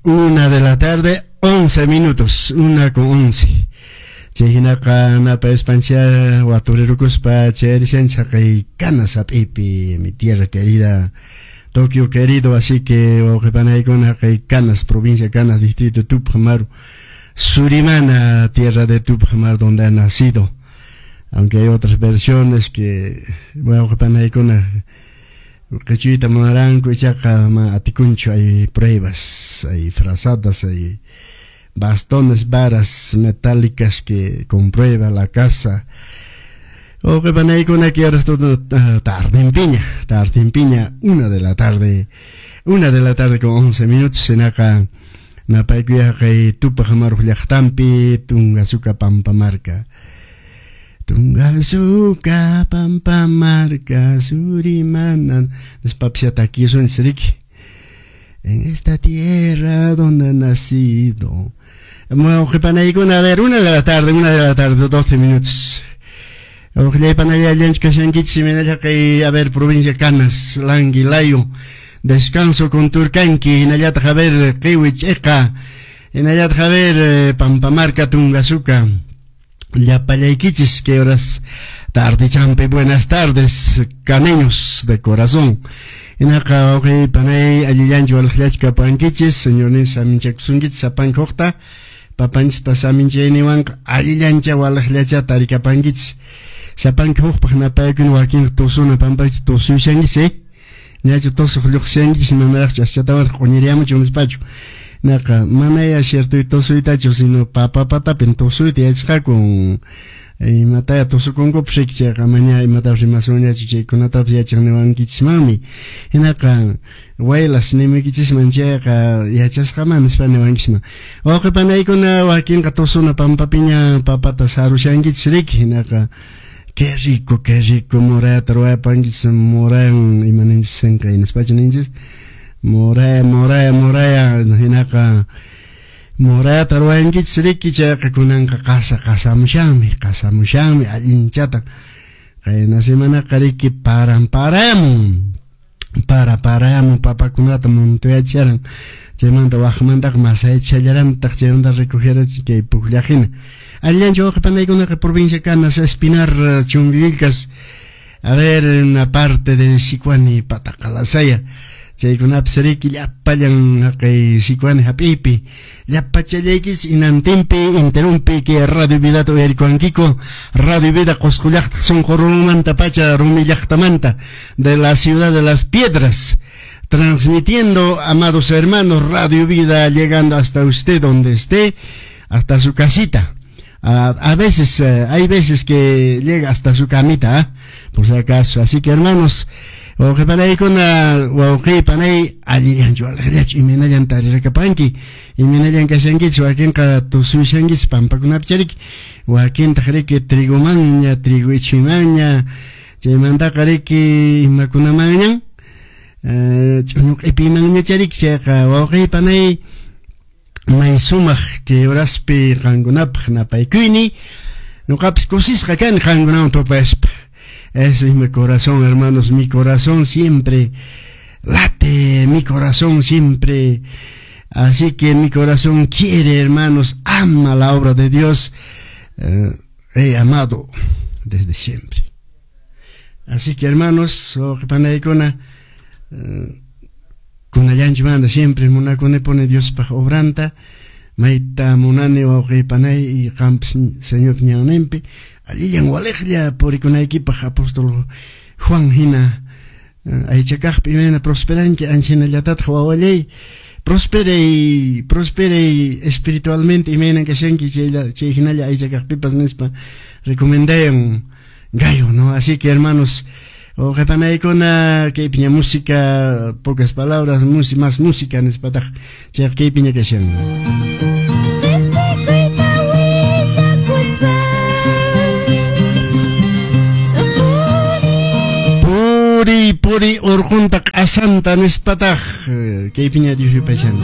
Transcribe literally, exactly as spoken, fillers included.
Una de la tarde, once minutos, una con once. Chay hinaqa napayuspancha waturirukuspa chayrishanchis kay Canas hap'iypi, mi tierra querida, Tokio querido, así que wawqipanaykuna kay Canas, provincia Canas, distrito Túpac Amaru, Surimana, tierra de Túpac Amaru, donde ha nacido. Aunque hay otras versiones que wawqipanaykuna qichwayta munaranku, ichaqa ma atikunchu, hay pruebas, hay frazadas, hay bastones, varas metálicas que comprueba la casa. Wawqipanaykuna que ahora todo tardinpiña, tardinpiña, una de la tarde, una de la tarde con once minutos, hinaqa napaykuya kay Túpac Amaru llaqtanpi, Tungasuca Pampamarca. Tungasuca Pampamarca, Surimana, nispapis takisunchis riki. En esta tierra donde he nacido. Wawqipanaykuna, a ver, una de la tarde, una de la tarde, doce minutos. Wawqillaypanallallanchu kashankichis, imaynalla kay, a ver, provincia Canas, Languilayo, Descanso Condorcanqui, hinallataq, a ver, Qiwi Ch'iqa, hinallataq, a ver, Pampamarca, Tungasuca. Llapallaykichis, que horas tarde champi, buenas tardes, caneños de corazón. Hinaqa wawqi panay allillanchu walaqllachu kapankichis, señorninchis saminchakusunkichis sapanka huqta, papanchispa saminchayninwanqa allillancha walaqllacha tarikapankichis. Sapanka huqpaq napaykuna wakin tusuna pampakichis tusuyushankichis, eh? Ñachu tusuq lluqsishankichis, manaraqchu aschatawan q'uñiriyamuchu nispachu. Naqa manaya cierto tusuytachu, sino papapatapin tusuyta yachasqaku. Imataya tusukunkupas riki, chayqa maña imatapas rimasunñachu, chaykunatapas yachaq niwankichismanmi. Hinaqa waylas nimuykichisman chayqa yachasqaman nispa niwankichisman. Wawqipanaykuna wakinqa tusuna pampapiña papata sarushankichis riki, hinaqa qué rico, qué rico morayata ruwayapankichis, morayan ima ninchis sinqay nispachu ninchis. Moraya, moraya, moraya, hinaqa morayata ruwayankichis riki, chayqa kunanqa qasa qasamushanmi, qasamushanmi allinchata. Qayna semanaqa riki paran paramun, para paramun papakunata muntuyachisharan, chaymanta waqmantaqa masayachishallarantaq, chaymanta recogerachis kay pukllaqhina. Allinchu wawqipanaykunaqa provincia Canas, Espinar, Chumbivilcas, a ver, una parte de Sicuani, Pataqalasaya, chaykunapis riki llapallan haqay Sicuani hap'iypi, llapachallaykichis inantinpi, interumpi que Radio Vidata uyarikuwankiku, Radio Vida Qusqu llaqta sunqu rumimanta pacha, rumi llaqtamanta, de la ciudad de las piedras, transmitiendo, amados hermanos, Radio Vida llegando hasta usted donde esté, hasta su casita. A, a veces, eh, hay veces que llega hasta su camita, ¿eh? Por si acaso. Así que hermanos, wawqipanaykuna, wawqipanay, allillanchu, alaqllachu, imaynallan tarirakapanki, imaynallan kashankichis, wakinqa tusuyushankichis pampakunapi chariki, wakintaq riki trigomanña, trigo ichhumanña, chaymantaqa riki imakunamanñan, eh, ch'uñu q'ipimanña chariki, chayqa wawqipanay, may sumaq kay horaspi qankunapaq napaykuyni, ñuqapis kusisqa kani qankunawan tupaspa. Eso es mi corazón, hermanos, mi corazón siempre late, mi corazón siempre. Así que mi corazón quiere, hermanos, ama la obra de Dios. Eh, he amado desde siempre. Así que, hermanos, wawqipanaykuna, eh, kunallanchimanta siempre munakunipuni Diospaq obranta, mayta munani wawqipanay y qanpis Señor ñanninpi allillan waliqlla purikunaykipaq apóstol Juan hina aychakaqpi imayna prosperanki ancha hinallatataq wawallay prosperey, prosperey espiritualmente imaynan kashanki chaylla chay hinalla aychakaqpipas nispa recomendayan Gayo, ¿no? Así que, hermanos, wawqipanaykuna kaypiña música, pocas palabras, más música nispataq chayqa kaypiña kashan. Riqsikuyta willakuspa Puri, puri urqunta q'asanta nispataq kaypiña Dios yupaychan.